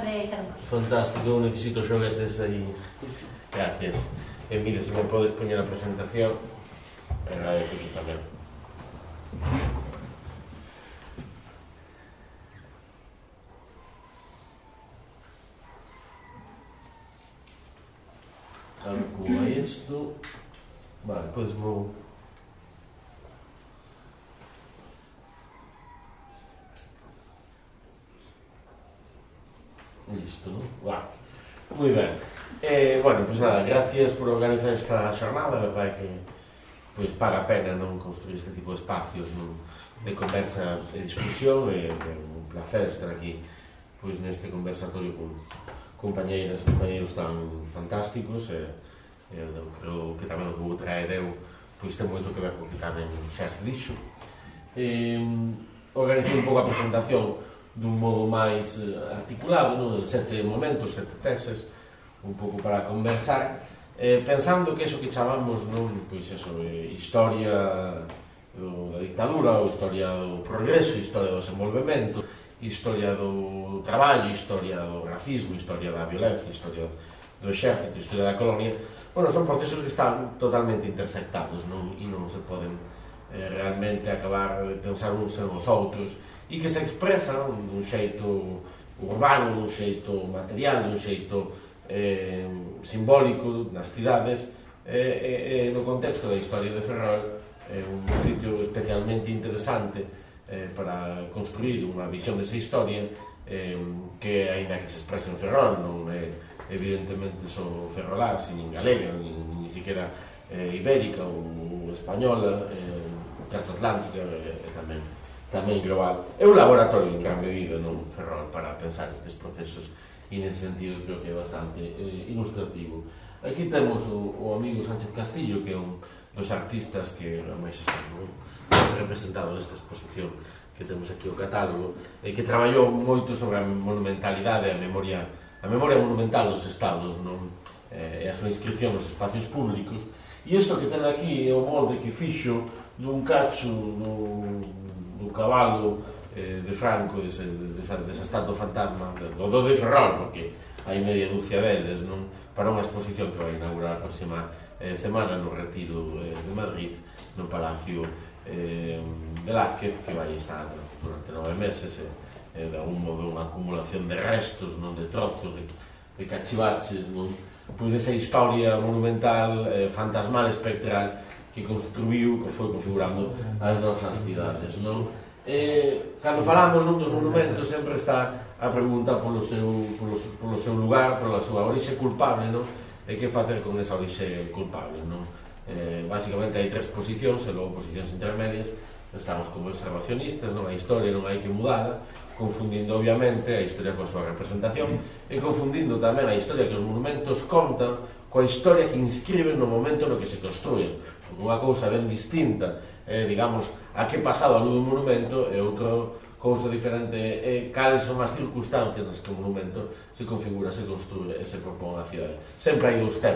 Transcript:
de Carlos. Fantástico, eu necesito xoguetes aí. Gracias. E mire, se me podes poñer a presentación, agradezo xo tamén. Calcula isto. Vale, podes mo... Listo, non? Vale. Moi ben. Bueno, pois nada, gracias por organizar esta xornada, a verdade que pois paga a pena non construir este tipo de espacios de conversa e discusión, e é un placer estar aquí pois neste conversatorio con compañeiras e compañeiros tan fantásticos, e eu creo que tamén o que vou traer eu pois ten moito que ver co que tamén xa se dixo. Organizei un pouco a presentación dun modo máis articulado, non? 7 momentos, 7 teses, un pouco para conversar, pensando que eso que chamamos, non? Pois eso, historia da dictadura, ou historia do progreso, historia do desenvolvemento, historia do traballo, historia do racismo, historia da violencia, historia do exército, historia da colonia, bueno, son procesos que están totalmente intersectados, non? E non se poden realmente acabar de pensar uns en os outros, e que se expresan dun xeito urbano, dun xeito material, dun xeito simbólico nas cidades, no contexto da historia de Ferrol, un sitio especialmente interesante para construir unha visión desa historia, que aínda que se expresa en Ferrol, non é evidentemente só ferrolar, nin galega, nin siquiera ibérica ou española, transatlántica, e tamén global. É un laboratorio en gran medida, non, Ferrol, para pensar estes procesos, e nese sentido creo que é bastante ilustrativo. Aquí temos o amigo Sánchez Castillo, que é un dos artistas que máis están representados nesta exposición que temos aquí o catálogo, e que traballou moito sobre a monumentalidade, a memoria monumental dos estados, non? E a súa inscripción nos espacios públicos. E isto que ten aquí é o molde que fixo dun cacho do cabalo de Franco, desa estatua fantasma, do de Ferrol, porque hai media dúcia deles, non? Para unha exposición que vai inaugurar a próxima semana no Retiro de Madrid, no Palacio Velázquez, que vai estar durante 9 meses, de algún modo unha acumulación de restos, non? De trozos, de cachivaches, non? Pois esa historia monumental, fantasmal, espectral, que construiu, que foi configurando as nosas cidades, non? Cando falamos nun dos monumentos sempre está a pregunta polo seu lugar, pola súa orixe culpable, non? E que facer con esa orixe culpable, non? Básicamente hai 3 posicións e logo posicións intermedias. Estamos como observacionistas, non? A historia non hai que mudala, confundindo obviamente a historia coa súa representación e confundindo tamén a historia que os monumentos contan coa historia que inscriben no momento no que se construyen. Unha cousa ben distinta, digamos, a que pasado a luz do monumento, e outra cousa diferente é cales son as circunstancias nas que o monumento se configura, se construye e se propón a cidade. Sempre hai 2 temas.